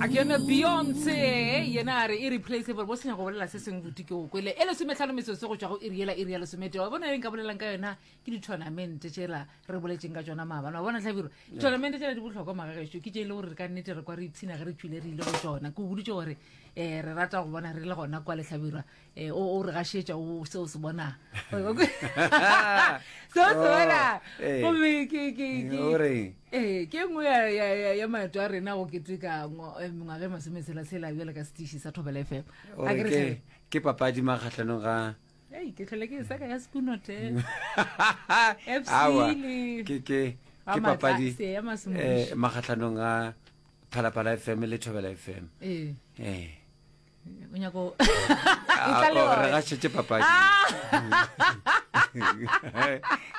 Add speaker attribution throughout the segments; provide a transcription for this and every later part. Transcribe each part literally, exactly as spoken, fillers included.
Speaker 1: A ke yone Beyonce yena a re irreplaceable bo senya go bolela se sengwe buti ke o kwele e lesometlhano metsotso go tšwa go iri yela iri ya lesometee wa bona e nka bolelang ka yona ke di-tournament tšela re boletseng ka tšona maabane wa bona tlhabiro tournament tšela di bohlokwa magagešo ke tše e le gore re ka nnete re kwa re ipshina ge re tšwile re ile go tšona ke o boditše gore um re rata go bona re le gona kwa lehlabirwa um o re gašetša o seo se bonang seo se bona
Speaker 2: eh.
Speaker 1: gomme ke ke ke
Speaker 2: O reng?
Speaker 1: ee ke nngwe ya- ya- ya- ya maeto a rena go keteka ngo- eh, mengwaga e masometshela-tshela bjale ka setiši sa Thobela F M.
Speaker 2: O
Speaker 1: A
Speaker 2: re
Speaker 1: ke re
Speaker 2: ke
Speaker 1: Thabi?
Speaker 2: ke papadi makgatlhanong ga
Speaker 1: Ei, ke tlhole ke e seka ya Sekunote F C
Speaker 2: Aowa,
Speaker 1: le
Speaker 2: ke ke
Speaker 1: Ga
Speaker 2: ke
Speaker 1: Matla-
Speaker 2: papadi
Speaker 1: Seya Masemodiši.
Speaker 2: eh makgatlhanong ga Phalaphala F M le Thobela F M.
Speaker 1: Ee.
Speaker 2: Eh.
Speaker 1: O nyako
Speaker 2: Ah,
Speaker 1: E tla le
Speaker 2: oh, re
Speaker 1: yona.
Speaker 2: gašetše papadi.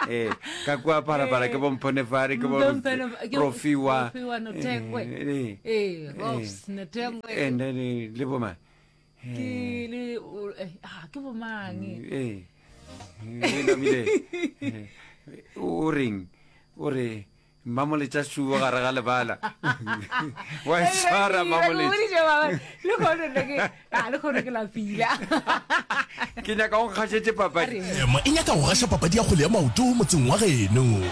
Speaker 2: Eh, ka kua Phalaphala ke bomphonefare ke bo
Speaker 1: Mpho- ke-
Speaker 2: Rofiwa.
Speaker 1: Rofiwa Nothengwe.
Speaker 2: Eh,
Speaker 1: Ee, Robs Nothengwe.
Speaker 2: And then eh, le boma.
Speaker 1: Ke le o- eh, ah, ke bomang?
Speaker 2: Eh. Eh, namile. Eh, O reng? O re mmamoletša suo gare ga lebala. Wa e tshwara mmamoletša.
Speaker 1: Le kgone nna ke ah, le kgone ke lapile.
Speaker 2: Ke nyaka o nkgašetše papadi.
Speaker 3: M e nyaka go gaša papadi ya kgwele ya maoto motseng wa geno.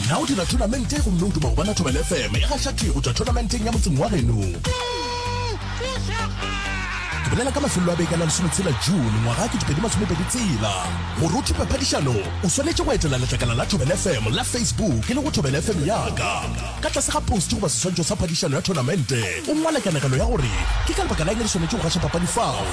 Speaker 3: Na o dira thonamente gomme o duma go bona Thobela F M e gaša thwi go tšwa thonamenteng ya motseng wa geno? Ke bolela ka mafelelo a beke a la lesometshela June ngwaga kete pedi masomepedi tshela. Gore o thope phadišano, o swanetše go etela letlakala la Thobela F M la Facebook e le go Thobela F M yaka. Ka tlase ga post goba seswantšho sa phadišano ya thonamente, o ngwale kanegelo ya gore ke ka lebaka la eng re swanetše go gaša papadi fao.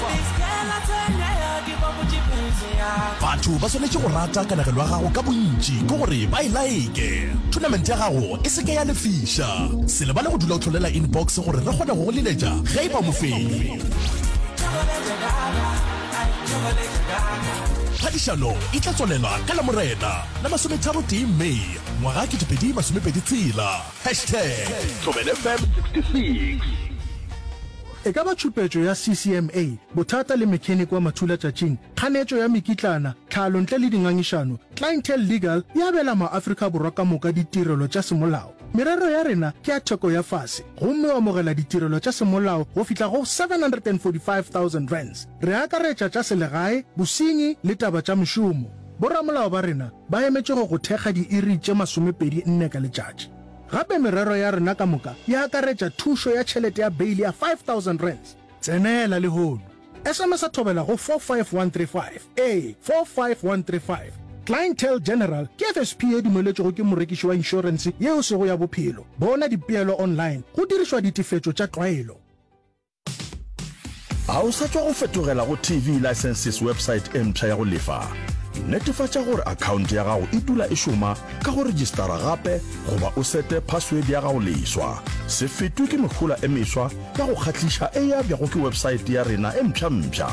Speaker 3: Batho ba swanetše go rata kanegelo ya gago ka bontši ke gore ba e like. Tournament ya gago e se ke ya lefiša. Se lebale go dula o hlolela inbox gore re kgone go go leletša ge e ba mofenyi. Phadišano e tla tswalelwa ka Lamorena la masometharo tee May ngwaga kete pedi masomepedi tshela. Hashtag Thobela F M sixty-six.
Speaker 4: E ka ba tšhupetšo ya C C M A, bothata le mechanic wa mathulatšatšing, kganetšo ya mekitlana, tlhalo ntle le dingangišano, Clientele Legal e abela maAfrika Borwa ka moka ditirelo tša semolao. Merero ya rena ke ya theko ya fase gomme o amogela ditirelo tša semolao go fihla go seven hundred and forty-five thousand rands. Re akaretša tša selegae, bosenyi le taba tša mešomo. Boramolao ba rena ba emetše go go thekga diiri tše masomepedi nne ka letšatši. Gape merero ya rena ka moka e akaretša thušo ya tšhelete ya bail ya five thousand rands. Tsenela lehono. S M S a Thobela go four five one three five. Ee, four five one three five. Clientele General ke F S P e dumeletšwego ke morekiši wa inšorense yeo sego ya bophelo. Bona dipeelo online go dirišwa ditefetšo tša tlwaelo.
Speaker 3: A o sa tšwa go fetogela go T V Licenses website e mpsha ya go lefa? Netefatša gore akhaonte ya gago e dula e šoma ka go registara gape goba o sete password ya gago leswa. Se fetwe ke mehola e meswa ya go kgahliša e abjago ke website ya rena e mpsha-mpsha.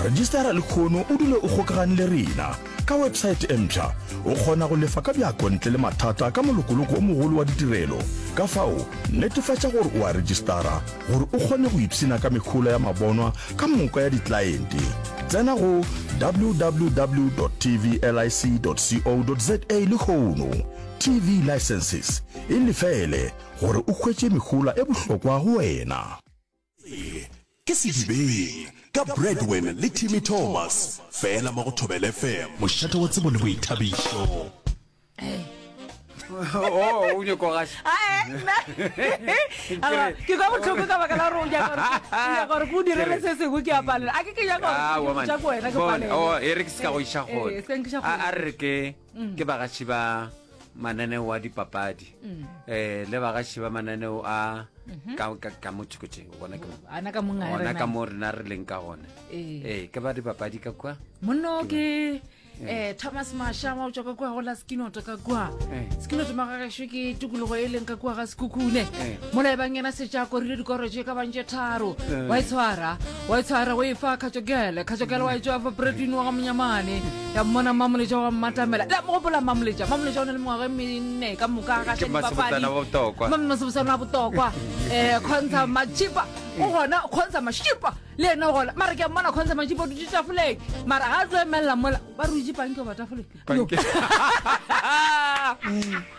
Speaker 3: Registara lehono o dule o kgokagane le rena. Ka website e mpsha, o kgona go lefa ka bjako ntle le mathata ka molokoloko o mogolo wa ditirelo. Ka fao, netefatša gore o a registara gore o kgone go ipshina ka mehola ya mabonwa ka moka ya diklaente. Tsena go w w w dot tvlic dot co dot za lehono. T V Licenses e lefele gore o hwetše mehola e bohlokwa go wena. Ke Sedibeng ka Bradwin le Timmy Thomas fela mo go Thobela F M, mošate wa tsebo le boithabišo.
Speaker 2: Oh, o nyako gaša.
Speaker 1: Aowa, ke kwa bohloko ka baka la gore o nyaka gore- o nyaka gore ke o direle se sengwe ke a palela a ke ke nyaka
Speaker 2: Ah,
Speaker 1: gore ke tša ko wena ke
Speaker 2: Bona, oh,
Speaker 1: palele
Speaker 2: e re ke se ka go iša
Speaker 1: Eh,
Speaker 2: gole.
Speaker 1: eh, se nkiša
Speaker 2: A a
Speaker 1: kgole.
Speaker 2: re ke ke bagaši ba mananeo a dipapadi eh le bagaši ba mananeo a ka ka ka mo tšhokotše gona ke mo
Speaker 1: ana ka mong a
Speaker 2: gona
Speaker 1: rena.
Speaker 2: ka mo rena re leng ka gona.
Speaker 1: Ee.
Speaker 2: Eh, ke ba dipapadi ka kwa.
Speaker 1: Monno ke eh Thomas Mashama o tswa ka kua go la Skinoto ka kua.
Speaker 2: Eh.
Speaker 1: Skinoto magagešo ke tikologo e leng ka kua ga Sekhukhune.
Speaker 2: Eh.
Speaker 1: Mola e bang yena setša korile dikoro tše ka bang tše tharo.
Speaker 2: Eh.
Speaker 1: Wa e tshwara, wa e tshwara o e fa Kgatšokele. Kgatšokele wa e tšwa fa Bredwin wa ga Monyamane. Ya mmona Mamoletša wa mmatamela. La mo gopola Mamoletša. Mamoletša o na le mengwaga e menne ka moka ga
Speaker 2: Ke Masebotsana wa Botokwa.
Speaker 1: Masebotsana wa Botokwa. Eh Khonsa Machipa o gona, Khonsa Mashipa le yena o gona, mara ke a mmona Khonsa Machipa o dutše tafoleng, mara ga a tlo emelela mola ba re itse panke goba tafoleng.
Speaker 2: Panke.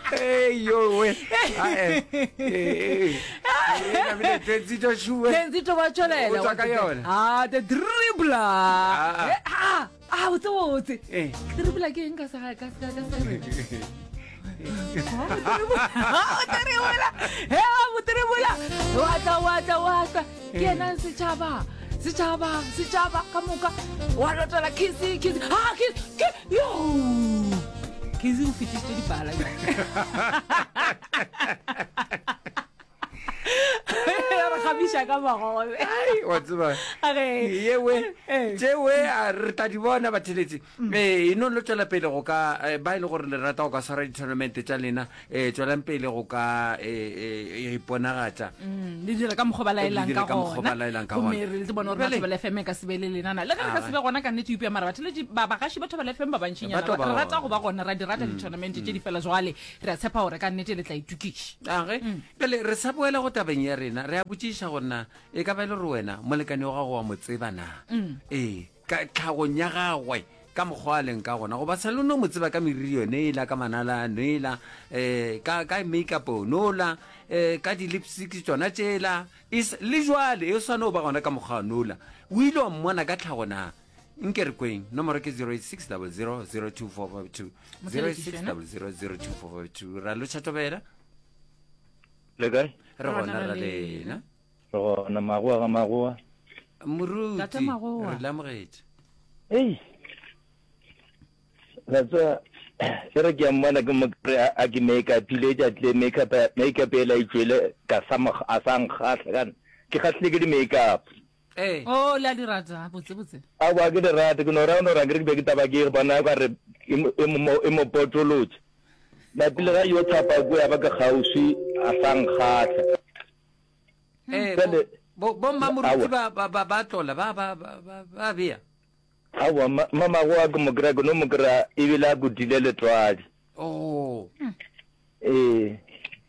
Speaker 2: Hey, yo, we. Ah, eh, eh, eh. Tenzito Shuwe.
Speaker 1: Tenzito ba tšwelela
Speaker 2: O tswa ka yona.
Speaker 1: Ah, the dribbler.
Speaker 2: Ah.
Speaker 1: Eh, ah, ah, botse botse.
Speaker 2: Eh.
Speaker 1: Dribbler ke eng ka sa ka ka ka sa O dribbler. He, o dribbler. Wa tla wa tla wa tla. Ke yena setšhaba. Setšhaba, setšhaba ka moka. Wa lotela kisi, kisi. Ah, kisi. Ke yo. Kisi o fetišitše dipala. Re kgabiša ka magobe.
Speaker 2: Ai, wa tseba.
Speaker 1: Age.
Speaker 2: Yewe.
Speaker 1: Eh.
Speaker 2: Tšewe a re tla di bona batheletši. Eh, e no lo tšwela pele go ka eh, ba e le gore le rata go ka swara di-tournament tša lena, eh tšwelang pele go ka eh eh iponagatša.
Speaker 1: Mm, le dira ka mokgwa ba laelang
Speaker 2: Le dira
Speaker 1: ka
Speaker 2: ka mokgwa
Speaker 1: gona
Speaker 2: ba laelang ka
Speaker 1: gomme
Speaker 2: gona.
Speaker 1: re le bone gore
Speaker 2: Bjale-
Speaker 1: Thobela F M e ka se be le lenana le ge re ka
Speaker 2: Ah.
Speaker 1: se be gona ka nnete upja mara batheletši ba bagaši ba Thobela F M ba
Speaker 2: Ba
Speaker 1: bantšinyana
Speaker 2: tlo ba
Speaker 1: re rata
Speaker 2: gona.
Speaker 1: go ba gona ra di rata di-tournament tše di fela jwale re a tshepa gore ka nnete le tla itokiša
Speaker 2: Age, bjale re sa boela go tabeng ya rena, re a botšiša gore na e ka ba e le gore wena molekane wa gago wa mo tseba na? Ee, ka tlhagong ya gagwe ka mokgwa a leng ka gona, goba sa le no mo tseba ka meriri yone ela, ka manala ano ela, um ka ka makeup onola, um ka di-lipstick tsona tšela, e s- le jwale e swane o ba gona ka mokgwa anola. O ile wa mmona ka tlhago na? Nke re kweng, nomoro ke zero eight six double zero zero two four five two, zero eight six double zero zero two four five two. Ra lotšha Thobela?
Speaker 5: Le kae?
Speaker 2: Re gona ra lena.
Speaker 5: Re gona magoa ga magoa.
Speaker 2: Moruti,
Speaker 1: Tate Magoa.
Speaker 2: re le amogetše.
Speaker 5: Ei. La tseba e re ke a mmona ke mo kry a a ke make-upile tša tle make-up make-up ela e tšwele ka sa mo a sa nkgahla kana ke kgahlile ke di-make-up.
Speaker 2: Ee.
Speaker 1: o le a di rata botse botse
Speaker 5: Aowa ke di rate ke no ra no ra ke re ke be ke taba ke bona ka re e mo e mo e mo potolotše. Napile ga yo thapa ko ya ba ke kgauswi a sa nkgahla.
Speaker 2: Eh,
Speaker 5: Bjale-
Speaker 2: bo bo mmamoruti
Speaker 5: Aowa.
Speaker 2: ba ba ba ba tlola ba ba ba ba- ba bea.
Speaker 5: Aowa ma mamagoa ke mo kry-a ke no mo kry-a ebile a kutile letswadi.
Speaker 2: Oh.
Speaker 5: Ee.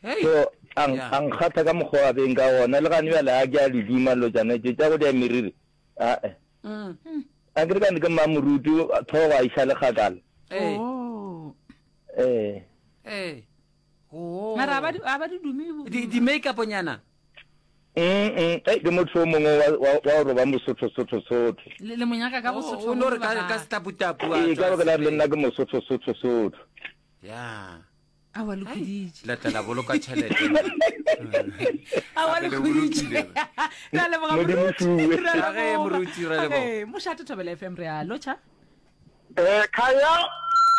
Speaker 2: Hey.
Speaker 5: So a
Speaker 2: Yeah.
Speaker 5: a nkgatha ka mokgwa wa beng ka gona le gane bjale a ke a di duma dilo tšana tše tša go dia meriri. Ae.
Speaker 2: Mm.
Speaker 5: A ke re kane ke mmamoruti tlhogo a iša le kgakala.
Speaker 2: Eh.
Speaker 1: Oh.
Speaker 5: Ee.
Speaker 2: Eh. Oh.
Speaker 1: mara a ba di- a ba di dume
Speaker 2: di di make-up nyana.
Speaker 5: Mm mm ei ke motho o mongwe wa wa wa gore ba mosotho sotho sotho.
Speaker 1: le le monyaka ka
Speaker 2: O
Speaker 1: bosotho
Speaker 2: o no re
Speaker 1: ba
Speaker 2: ka ka
Speaker 1: gagwe.
Speaker 2: setaputapu a
Speaker 5: Ee
Speaker 2: tswa
Speaker 5: ka baka la le
Speaker 2: sepeng.
Speaker 5: nna ke mosotho sotho sotho.
Speaker 2: Ya.
Speaker 1: Aowa, le khuditše.
Speaker 2: La tla la boloka tšhelete.
Speaker 1: Aowa, le
Speaker 2: Gape le
Speaker 1: khuditše.
Speaker 2: bolokile.
Speaker 1: Re a leboga,
Speaker 5: Modimo
Speaker 1: moruti.
Speaker 5: fuwe.
Speaker 1: Re a
Speaker 2: Age,
Speaker 1: leboga.
Speaker 2: moruti, re a leboga.
Speaker 1: Age, mošate Thobela F M re a lotšha.
Speaker 6: Eh, Khaya,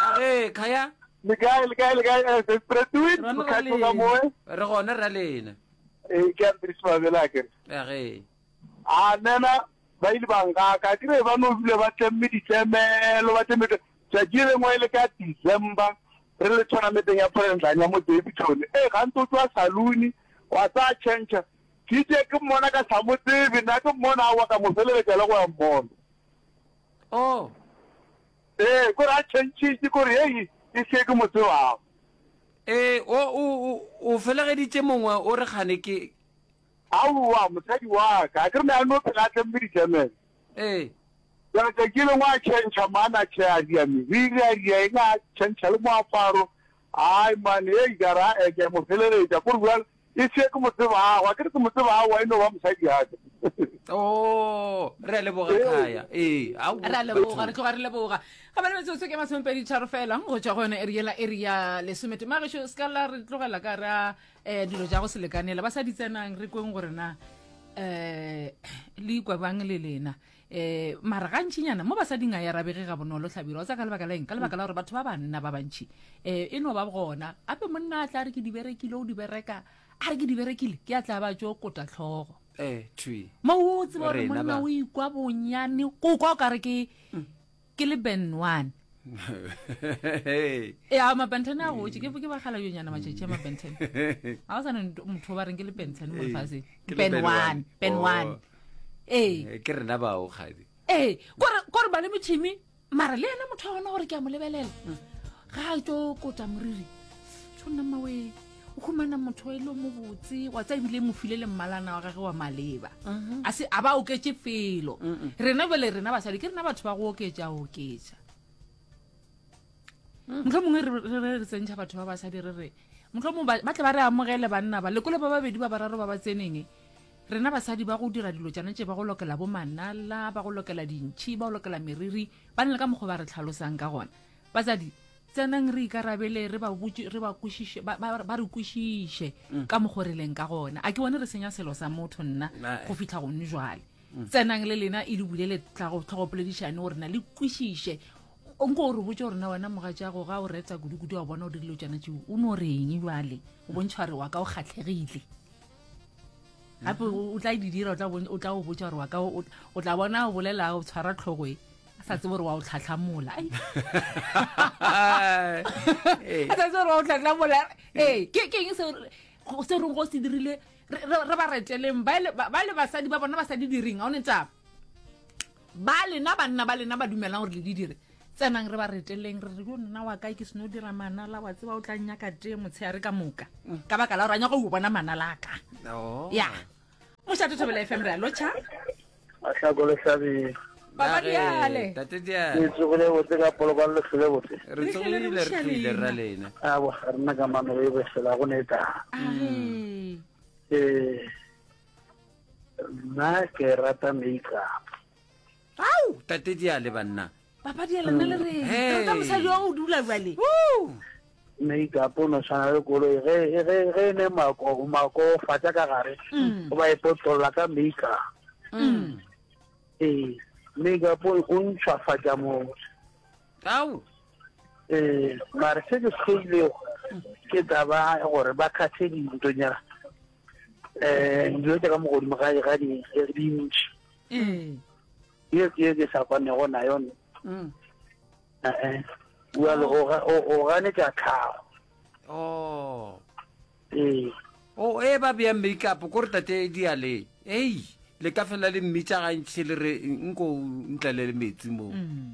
Speaker 2: Age, Khaya,
Speaker 6: le kae, le kae, le kae? Eh, Desperate
Speaker 1: Rona ra
Speaker 6: mokgatlo ka
Speaker 1: lena.
Speaker 6: moe.
Speaker 2: re gona ra lena.
Speaker 6: Eh, ke Andries Mabela ke.
Speaker 2: Age.
Speaker 6: A nena ba ile ba nkaka, ke re ba no bile ba tlemme ditlemelo, ba tlemme tšatši le lengwe e le ka December re le tournamenteng ya President ya mo Daveyton. Eh, gantsi o tswa saloon wa tsaya change. Ke itse ke mmona ka sa mo tsebe, nna ke mmona aowa ka mo feleletša le go ya mmona.
Speaker 2: Oh.
Speaker 6: Eh, kore a changile kore hei e se ke mo tsebago.
Speaker 2: Eh, o o o- o felegeditše mongwe o re gane ke
Speaker 6: Aowa, mosadi wa ka, a ke re ne a no phela a tlemme ditlemelo.
Speaker 2: eh
Speaker 6: Jwale tšatši le lengwe a change man a tšhe a dia meriri a dia eng a change le moaparo. Ai man, hei ka ra eh, ke a mo feleletša kore bjale e se ke mo tsebago, a ke re ke mo tsebago e no ba mosadi wa ka.
Speaker 2: Oh, re a leboga Khaya. Eh, ao.
Speaker 1: Re a leboga, re tloga re leboga. Ga bale metsotso ke masomepedi tharo fela go tšwa go yona area la area lesomete. Magešo se ka la re tlogela ka re a eh, dilo tša go se lekanela. Ba sa di tsenang re kweng gore na eh le ikwa bang le lena. Eh mara gantšinyana mo basading a ya rabege ga bonolo Hlabirwa. O tsaya ka lebaka la eng? Ka lebaka la gore batho ba banna ba bantši eh e no ba gona. Ape monna a tla re ke di berekile o di bereka, a re ke di berekile ke a tla ba tšo kota tlhogo.
Speaker 2: Eh, thwi.
Speaker 1: Mo o tseba gore
Speaker 2: Rena
Speaker 1: monna
Speaker 2: ba.
Speaker 1: o ikwa bonyane go kwa o kare ke ke le Ben one. E a mabenten a gotse ke ke bagala yonyana matšatši a mabenten. Ga o sa ne motho ba reng ke le Ben ten mo lefatsheng.
Speaker 2: Ke le
Speaker 1: Ben
Speaker 2: Ben
Speaker 1: one,
Speaker 2: one.
Speaker 1: Ben
Speaker 2: Oh.
Speaker 1: one. Ee.
Speaker 2: Eh, ke rena bao kgadi.
Speaker 1: Ee, kore kore ba le metšhini mara le yena motho wa gona gore ke a mo lebelela. Ga a tšo kota moriri. Tšho nna mmawe o humana motho e le mo botse wa tsa ebile mo file le mmalana wa gagwe wa maleba. A se a ba oketše felo. Rena bjale rena basadi ke rena batho ba go oketša oketša. Mohlomongwe re re re tsentšha batho ba basadi re re Mohlomong ba ba tle ba re amogele banna ba lekole ba babedi ba bararo ba ba tseneng. Rena basadi ba go dira dilo tšana tše ba go lokela bo manala, ba go lokela dintšhi, ba go lokela meriri, ba na le ka mokgwa ba re tlhalosang ka gona. Basadi, tsenang re ikarabele, re ba botše, re ba kwešiše, ba, ba, ba re kwešiše ka mokgwa re leng ka gona. A ke bone re senya selo sa motho nna
Speaker 2: Ae.
Speaker 1: go fihla gone jwale. Tsenang le lena e le bulele tlhago tlhogopoledišane gore na le kwešiše. O nko o re botše gore na wena mogatšago ga o reta kudu-kudu wa bona o dirile tšana tšeo, o no reng jwale? O bontšha gore wa ka o kgatlhegile. Gape o o tla di dira, o tla bon- o tla o botša gore wa ka o o tla bona o bolela o tshwara tlhogo e a sa tsebe gore wa o tlhatlhamola. Ai.
Speaker 2: Ee.
Speaker 1: A sa tsebe gore wa o tlhatlhamola. Ee, ke ke eng seo re- go- se reng go se dirile re re- re ba reteleng ba le ba le basadi ba bona ba sa di direng, ga o ne taba. Ba lena banna ba lena ba dumelang gore le di dire. Tsenang re ba reteleng re re yo nna wa kae ke seno dira manala wa tseba o tla nnyaka tee motshehare ka moka. Ka baka la gore a nyaka go bona manala a ka.
Speaker 2: Oh.
Speaker 1: Ya. Mošate Thobela F M re a lotšha.
Speaker 7: Mahlako le Hlabirwa.
Speaker 1: Papa
Speaker 2: Nage,
Speaker 1: Diale.
Speaker 2: Tate Diale.
Speaker 7: Le tsogile botse ka polokwane le hlole botse.
Speaker 2: Re tsogile re tlile ra lena.
Speaker 7: A bo ga rena ka mano e befela go ne taba.
Speaker 1: Age.
Speaker 7: Eh nna ke rata makeup.
Speaker 2: Au, Tate Diale banna.
Speaker 1: Papa Diale nna le reng?
Speaker 2: Hey.
Speaker 1: Ke rata mosadi wa go dula jwale.
Speaker 7: Makeup o no tshwana le koloi ge ge ge e ne mako mako fatša ka gare o ba e potlolla ka makeup.
Speaker 1: Mm.
Speaker 7: Ee, makeup o o ntšhwafatša motho.
Speaker 2: Au.
Speaker 7: Eh, mare se ke se hloilego ke taba ya gore ba kgathe dintonyana. Eh, dilo tša ka mo godimo ga ga di dintši.
Speaker 1: Ee.
Speaker 7: Ye ke ye ke sa kwanego nayo nna.
Speaker 2: Mm.
Speaker 7: Eh, bjale o ga- o o ganetša tlhago.
Speaker 2: Oh.
Speaker 7: Ee.
Speaker 2: Oh, e ba bea makeup ko re Tate Diale. Ei, le ka fela le mmitša gantši le re nko ntlele le metsi mo.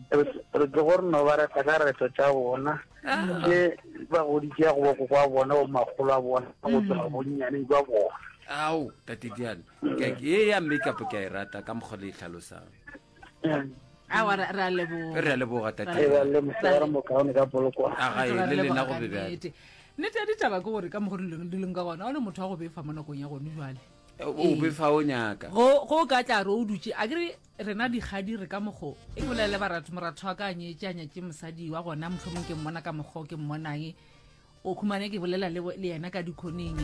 Speaker 7: Re re tlo gore no ba reta ka reto tša bona. Ke ba goditše go boko kwa bona bo makgolo a bona go tloga bonnyaneng jwa bona.
Speaker 2: Au, Tate Diale. Ke ye ya makeup ke a e rata ka mokgwa le e tlhalosang.
Speaker 7: Mm.
Speaker 1: Aowa, re re a leboga.
Speaker 2: Re a leboga Tate.
Speaker 7: E ba le mosegare mokaone ka polokwane.
Speaker 2: A ga e
Speaker 1: Re
Speaker 2: le lena
Speaker 1: leboga
Speaker 2: go
Speaker 1: ka
Speaker 2: be bjalo.
Speaker 1: nnete. Nnete ya ditaba ke gore ka mokgwa di leng di leng ka gona, o le motho wa go befa mo nakong ya gone jwale.
Speaker 2: O befa o nyaka.
Speaker 1: Go go ka tla re o dutše, a ke re rena dikgadi re ka mokgo. E ke bolele baratho, moratho wa ka a nyetše, a nyetše mosadi wa gona, mohlomong ke mmona ka mokgo ke mmonang. O khumane ke bolela le bo-, le yena ka dikhoneng.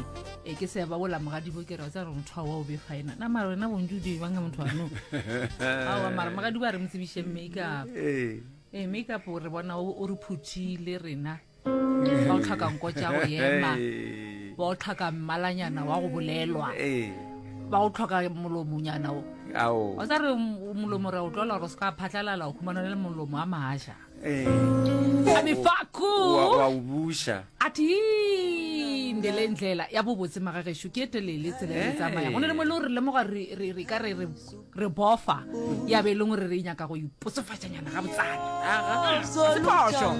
Speaker 1: E ke se ba bola mogadibo ke re wa tseba gore motho wa o befa ena. Na mara wena bontši o di bang ka motho wa no. Aowa, mara mogadibo a re mo tsebiše makeup.
Speaker 2: Ee.
Speaker 1: Ee, makeup re bona o, o re phuthile rena. Ba o tlhoka nko tša go ema.
Speaker 2: Ee.
Speaker 1: Ba o tlhoka mmalanyana wa go bolelwa.
Speaker 2: Ee.
Speaker 1: Ba o tlhoka molomonyana o.
Speaker 2: Ao.
Speaker 1: Wa tseba re molomo re o tlola gore o se ka phatlalala, o khumana le molomo a maja.
Speaker 2: Ee.
Speaker 1: A mefaku.
Speaker 2: Wa, wa o buša.
Speaker 1: Ati ndele ndlela ya bobotse magagešo ke e telele tsela e tsamaya. Go na le mo e le gore re lemoga re, re, re ka re, re, re bofa ya be e leng gore re nyaka go ipotsofatšanyana ga botsana.
Speaker 2: Aga.
Speaker 1: Se phošo.